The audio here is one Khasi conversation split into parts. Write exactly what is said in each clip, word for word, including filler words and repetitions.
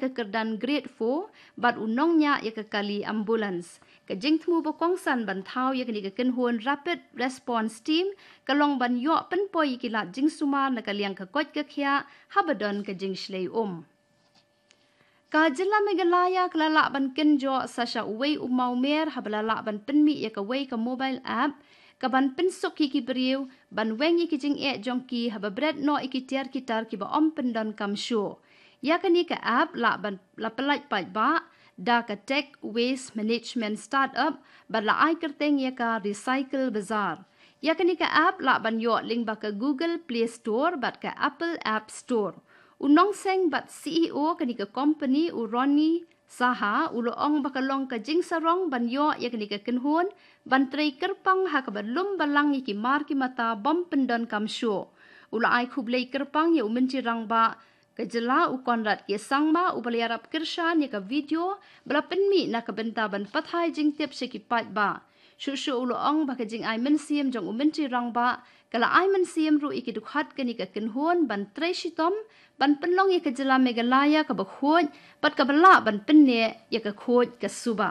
ka kyrdan Grade four bad u nongñiah ïa ka kali ambulance. Ka jingthmu ba kongsan ban thaw ïa kane ka kynhun Rapid Response Team ka long ban ïoh pynpoi ïa ki lad jingsumar na ka liang ka koit ka khiah haba don ka jingshlei um. Ka jylla Meghalaya ka la lah ban kynjoh sa sha uwei u mawmer haba la lah ban pynmih ïa kawei ka mobile app ka ban pynsuk ïa ki briew ban weng ïa ki jingeh jong ki haba bret noh ïa ki tiar ki tar kiba ym pyndonkam shuh. Ïa kane ka app lah ban la pyllait paidbah da ka Tech Waste Management Startup bad la ai kyrteng ïa ka Recycle Bazaar. Ïa kane ka app lah ban ïoh lyngba ka Google Play Store bad ka Apple App Store. U nongseng bad C E O kane ka company, u Ronnie Saha, u la ong ba ka long ka jingsarong ban ïoh ïa kane ka kynhun ban trei kyrpang ha kaba lum balang ïa ki mar ki mata bym pyndonkam shuh. U la ai khublei kyrpang ïa u Myntri Rangbah ka jylla, u Conrad K Sangma, uba la ïarap kyrshan ïa ka video ba la pynmih na ka bynta ban pathai jingtip sha ki paidbah. Shuh shuh u la ong ba ka jingai mynsiem jong u Myntri Rangbah ka la ai mynsiem ruh ïa ki dkhot kane ka kynhun ban trei shitom ban pynlong ïa ka jylla Meghalaya kaba khuid bad kaba lah ban pynneh ïa ka khuid ka suba.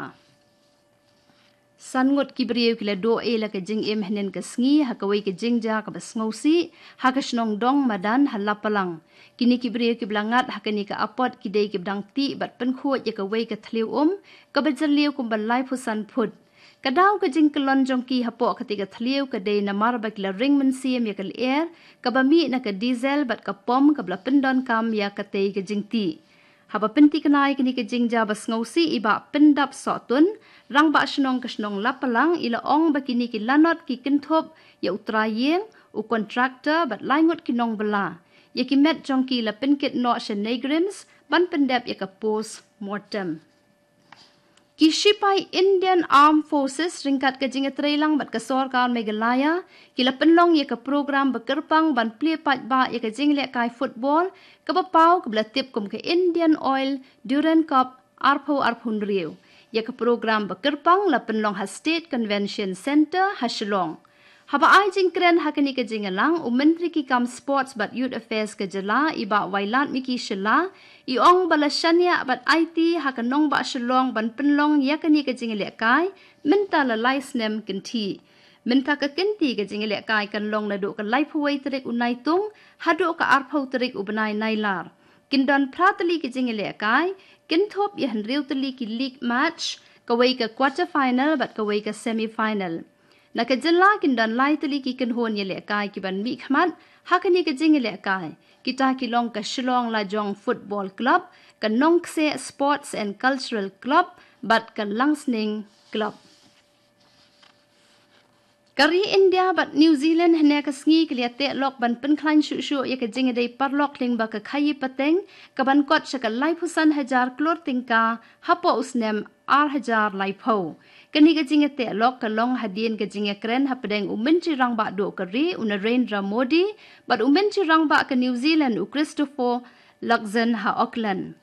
San ngut ki briew ki la duh ei la ka jingim hynnin ka sngi ha kawei ka jingjia kaba sngewsih ha ka shnong Dong Madan ha Lapalang. Kine ki briew kiba la ngat ha kane ka apot ki dei kiba dang tih bad pynkhuid ïa kawei ka thliew um kaba jylliew kumba laiphew san phut. Ka daw ka jingkyllon jong ki hapoh katei ka thliew ka dei namar ba ki la ring mynsiem ïa ka lyer kaba mih na ka diesel bad ka pom kaba la pyndonkam ïa katei ka jingtih. Haba pynthikna ïa kane ka jingjia ba sngewsih i Bah Pyndap Sohtun, Rangbah Shnong ka shnong Lapalang, i la ong ba kine ki lanot ki kynthup ïa u trai ïing, u kontraktor bad lai ngut ki nongbylla. Ïa ki met jong ki la pynkit noh sha NEIGRIHMS ban pyndep ïa ka post mortem. Ki shipai Indian Armed Forces ryngkat ka jingïatreilang bad ka sorkar Meghalaya ki la pynlong ïa ka program ba kyrpang ban plie paidbah ïa ka jinglehkai football kaba paw kaba la tip kum ka Indian Oil Durand Cup arphew arphew hynriew. Ïa ka program ba kyrpang la pynlong ha State Convention Centre ha Shillong. Haba ai jingkren ha kane ka jingïalang, u Myntri ki kam Sports bad Youth Affairs ka jylla, i Bah Wailadmiki Shylla, i ong ba la shaniah bad aiti ha ka nongbah Shillong ban pynlong ïa kane ka jingïalehkai mynta la lai snem kynthih. Mynta ka kynti ka jingïalehkai kan long naduh ka laiphew wei tarik u Naitung haduh ka arphew tarik u bnai Nailar. Kin don phra tylli ki jingïalehkai, kynthup ïa hynriew tylli ki league match, kawei ka quarter final bad kawei ka semi final. Na ka jylla kin don lai tylli ki kynhun ïalehkai ki ban mihkhmat ha kane ka jingïalehkai. Kita ki long ka Shillong Lajong Football Club, ka Nongkseh Sports and Cultural Club bad ka Langsning Club. Ka ri India bad New Zealand hynne ka sngi ki la ïateh lok ban pynkhlaiñ shuh shuh ïa ka jingïadei paralok lyngba ka khaïi pateng ka ban kot sha ka laiphew san hajar klur tyngka hapoh u snem ar hajar laiphew. Kane ka jingïateh lok ka long hadien ka jingïakren hapdeng u Myntri Rangbah Duh ka ri, u Narendra Modi, bad u Myntri Rangbah ka New Zealand, u Christopher Luxon, ha Auckland.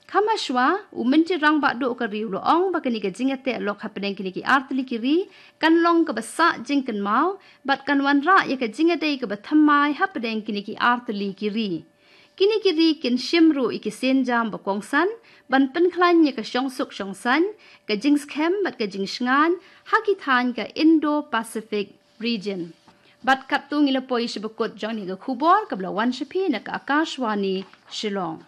Kham hashwa, u Myntri Rangbah Duh ka ri u la ong ba kane ka jingïateh lok hapdeng kine ki ar tylli ki ri kan long kaba sah jingkynmaw bad kan wanrah ïa ka jingïadei kaba thymmai hapdeng kine ki ar tylli ki ri. Kine ki ri kin shim ruh ïa ki sienjam ba kongsan ban pynkhlaiñ ïa ka shongsuk shongsaiñ, ka jingskhem bad ka jingshngaiñ ha ki thaiñ ka Indo-Pacific region. Bad katto ngi la poi sha ba kut jong kane ka khubor kaba la wan sha phi na ka Akashvani Shillong.